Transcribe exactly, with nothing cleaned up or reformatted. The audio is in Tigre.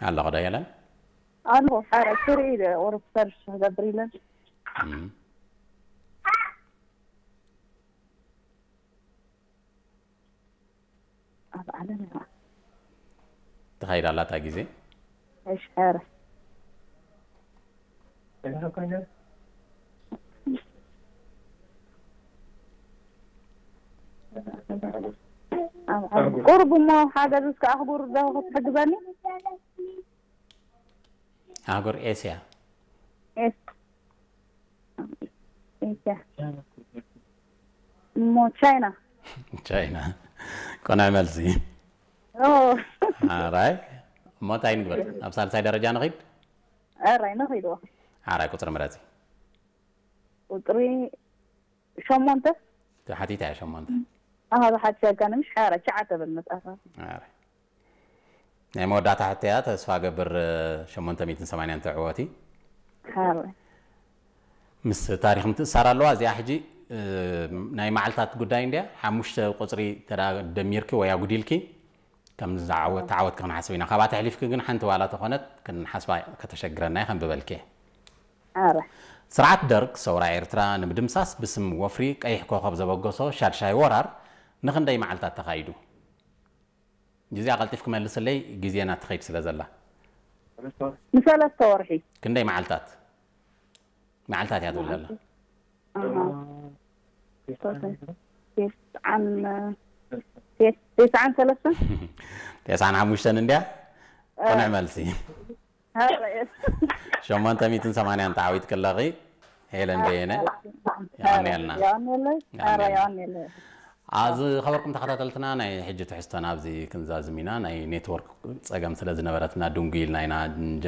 አለ ኸዳ የለን? አልቦ ሐረ ስሪ ኦሮፕተር ገብር ይለን። እም። አብ ዓለም ተኸይድ አላታ ጊዜ። እሽ ሐረ። ቁርብ እሞ ሓገዝ እስከ አህጉር ደው ክትሕግዘኒ? አህጉር ኤስያ። ኤስ-፣ ኤስያ። እሞ ቻይና። ቻይና። ቆናይ መልሲ። ኦ። ኣራይ። እሞ እንታይ ንግበር? ኣብ ሳልሳይ ደረጃ ንኺድ? ኣራይ ንኺድ። ኣራይ ቁጽሪ ምረጺ። ቁጽሪ ሸሞንተ? ተሓቲት እያ ሸሞንተ። ኣሃ፣ ብሓቂ ኣጋንምሽ ሓራ ሸዓተ በል መጽሓፍ። ኣረ። ናይ መወዳእታ ሕቶያ ተስፋ ገብር ሸሞንተ ሚእትን ሰማንያን ትዕወቲ። ሓራ። ምስ ታሪኽ ምትእሳር ኣለዋ። እዚኣ ሕጂ፣ እ፣ ናይ መዓልታት ጉዳይ እንድያ። ሓሙሽተ ቁጽሪ ተዳ-፣ ደሚርኪ ወይ ኣጉዲልኪ፣ ከም ዝዓወት፣ ተዓወትኪ ክንሓስብ ኢና። ካብኣ ተሕሊፍኪ ግን ሓንቲ ዋላ ተኾነት ክንሓስባ ከተሸግረና እዩ፣ ከንብበልኪ እየ። ኣረ። ስርዓት ደርግ ሰውራ ኤርትራ ንምድምሳስ ብስም ወፍሪ ቀይሕ ኮኸብ ዘበገሶ ሻድሻይ ወራር ንኽንደይ መዓልታት ተኻይዱ? ግዜ ኣቐልጢፍኪ መልስለይ፣ ግዜና ትኸይድ ስለ ዘላ። ንሰለስተ ወርሒ። ክንደይ መዓልታት? መዓልታት እያ ትብል ዘላ። ኣሃ። ተስዓን፣ ቴስ-፣ ቴስዓን ሰለስተን? ቴስዓን ሓሙሽተን እንድያ? እ። ቅኑዕ መልሲ። ሀረ። ሸሞንተ ሚእትን ሰማንያን ተዓዊትኪ ኣለኺ። ሄለን በየነ። ሀረ፣ የቐንየልና። የቐንየለይ። ሀረ፣ የቐንየልና። የቐንየለይ። ኣዚ ኸበርኩም ተኸታተልትና፣ ናይ ሕጂ ትሕዝቶና ኣብዚ ክንዛዝም ኢና። ናይ ኔትወርክ ጸገም ስለ ዝነበረትና ድንጉይ ኢልና ኢና እንጀምር።